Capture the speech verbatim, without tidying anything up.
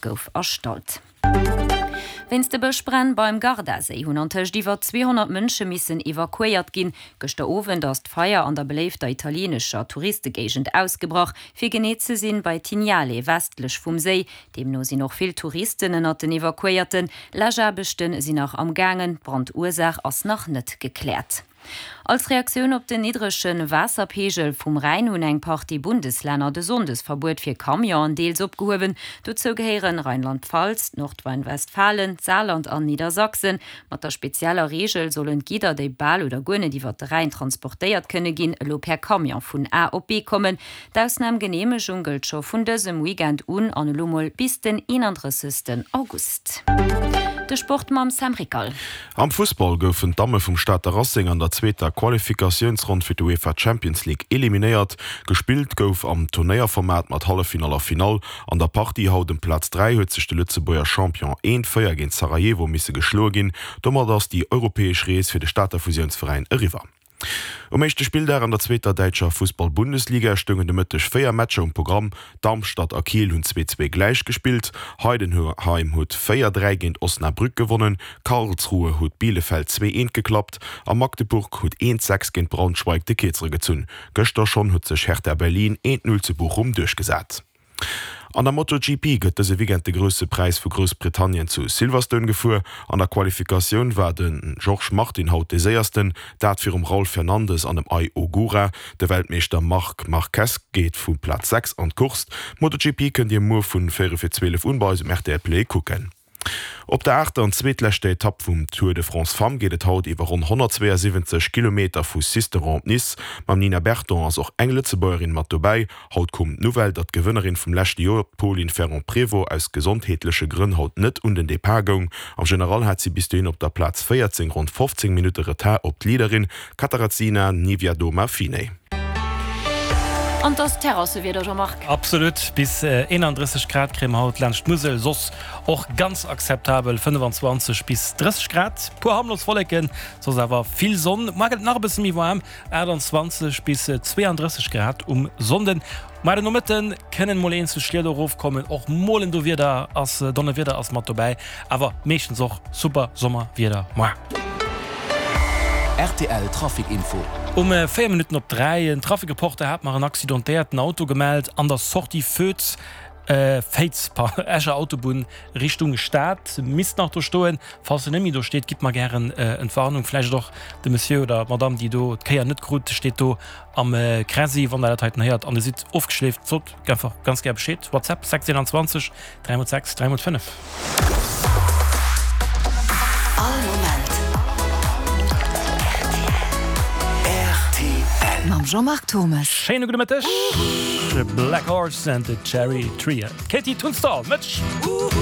Gouf erstallt. Wéinst de Bëschbränn beim Gardaséi hunn antëscht iwwer zweehonnert Mënsche missen evakuéiert ginn. Gëschter Owend ass d'Feier an der beléifter italieenescher Touristegéigend ausgebrach, fir genee ze sinn bei Tignale, westlech vum Séi. Deemno sinn och vill Touristen ënnert den Evakuéierten. Läschaarbechte sinn nach am gaangen, d'Brandursaach ass nach net gekläert. Als Reaktioun op den niddrege Waasserpeegel vum Rhäin hunn eng Partie Bundeslänner de Sonndesverbuet fir Camionen deels opgehuewen. Dozou gehéieren Rheinland-Pfalz, Nordrhein-Westfalen, d'Saarland an Niedersachsen. Mat der spezieller Reegel sollen d'Gidder, déi bal oder guer net iwwer de Rhäin transportéiert kënne ginn, elo per Camion vun A op B kommen. D'Ausnamgeneemegung gëllt scho vun dësem Weekend un an elo mol bis den eenandrëssegsten August. De Sport mam Sam Rickal. Am Fussball goufen d'Damme vum Stater Racing an der zweeter Qualifikatiounsronn fir d'UEFA Champions League eliminéiert. Gespillt gouf am Turnéierformat mat Halleffinall a Finall. An der Partie haut ëm Plaz dräi huet sech de Lëtzebuerger Champion eent, véier géint Sarajevo misse geschloe ginn. Domat ass déi europäesch Rees fir de Stater Fusiounsveräin eriwwer. Um éischte Spilldag an der zweeter däitscher Fussball-Bundesliga stoungen de Mëtteg véier Matcher um Programm. Darmstadt a Kiel hunn zwee zwee gläich gespillt, Heidenheim huet véier dräi géint Osnabrück gewonnen, Karlsruhe huet Bielefeld zwee eent geklappt a Magdeburg huet eent sechs géint Braunschweig de Kierzere gezunn. Gëschter schonn huet sech Hertha Berlin eent null zu Bochum duerchgesat. An der MotoGP gëtt dëse Weekend de Grousse Präis vu Groussbritannien zu Silverstone gefuer. An der Qualifikatioun war de Jorge Martin haut dee Séiersten, dat virum Raul Fernandez an dem Ai Ogura. De Weltmeeschter Marc Marquez geet vu Plaz sechs an d'Course. D'MotoGP kënnt Dir muer vun véierel fir zwielef un bei eis um rtl Play kucken. Op der aachter an zweetleschter Etapp vum Tour de France Femmes geet et haut iwwer ronn honnertzweeënsiwwenzeg Kilometer vu Sisteron op Nice. Mam Nina Berton ass och eng Lëtzebuergerin mat dobäi. Haut koum d'Nouvelle, datt d'Gewënnerin vum leschte Joer, d'Polin Ferrand-Prévot, aus gesondheetleche Grënn haut net un den Depart goung. Am General hat si bis dohin op der Plaz véierzéng ronn fofzéng Minutte Retard op d'Leaderin Katarzyna Niewiadoma-Finney. An 't ass Terrassewieder, Jean-Marc. Absolut, bis eenandrësseg Grad kréie mer haut laanscht d'Musel, soss och ganz akzeptabel fënnefanzwanzeg bis drësseg Grad. Puer harmlos Wolleken, soss awer vill Sonn. Muer gëtt et nach e bësse méi waarm, aachtanzwanzeg bis zweeandrësseg Grad um Sonnden. Muer den Nomëtte kënnen mol eenzel Schlieder erofkommen, och mol en Dowieder ass, Donnerwieder ass mat dobäi, awer meeschtens och super Sommerwieder muer. Rtl Trafic Info. Um véier Minutten op dräi, en Trafic-Reporter hat mer en accidentéierten Auto gemellt an der Sortie Foetz, Féiz, pardon, Escher Autobunn Richtung Stad. Misst nach do stoen. Falls en net méi do steet, gitt mer gären Entwarnung. Vläicht och de Monsieur oder d'Madame, déi do d'Kéier net krut, steet do am Kräsi. Wann der dat heiten héiert an der sidd ofgeschleeft, sot einfach ganz gär Bescheed. WhatsApp sechs eenanzwanzeg dräi mol sechs dräi mol fënnef. All Moment rtl. Mam Jean-Marc Thommes. Schéine gudde Mëtteg. Black Horse and the Cherry Tree. D'Katie Tunstall, Mëtsch.